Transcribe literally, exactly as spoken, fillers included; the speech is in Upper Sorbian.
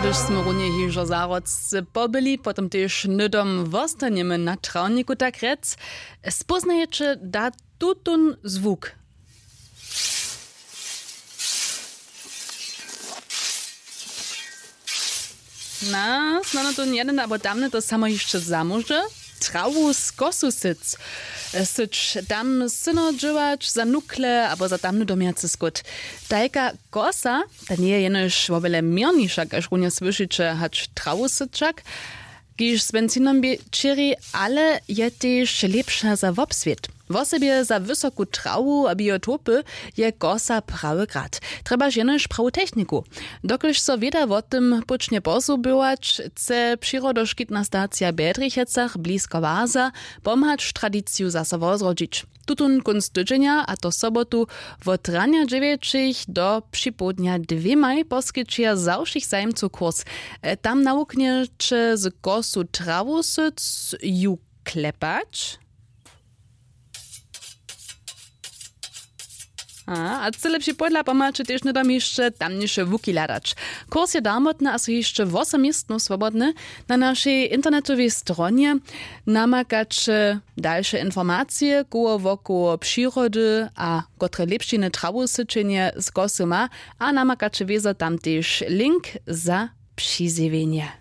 Hdyž smy runje hižo zahrodce pobyli, potom tež hnydom wostanjemy na trawniku, tak rjec. Spóznajeće da tutón zwuk? Na snano tón jeden abo tamny to samo hišće zamóže. Trawu z kosu syc syć, tam syno dźěłać za nukle abo za tamny domjacy skót. Tajka kosa, ta njeje jenož wobjele měrniša kaž runje słyšiće hač trawu syć wšak, kiž z benzinom bě čěri, ale je tež lěpša za wobswět, wosebje za wysoku trawu a biotopy. Je kosa prawy grad, trjebaš jenož prawu techniku. Dokelž so wěda wo tym póčnje posubować, chce přirodoškitna stacija w bjedrichecach blisko waza pomhać tradiciju zaso wozrodźić. Tutón kónc tydźenja, a to sobotu, wot ranja dźewjećich do připołdnja dwěmaj poskićeja za wšěch zajimcow kurs. Tam nawuknjeće z kosu trawu syc, ju klepać a cyle připołdla pomhaće tež hnydom hišće tamniše łuki hladać. Kurs je darmotny a su hišće wosom městnow swobodne. Na našej internetowej stronje namakaće dalše informacije koło wokoło přirody a kotre lěpšiny trawosyćenje z kosu ma, a namakaće wězo tam tež link za přizjewjenje.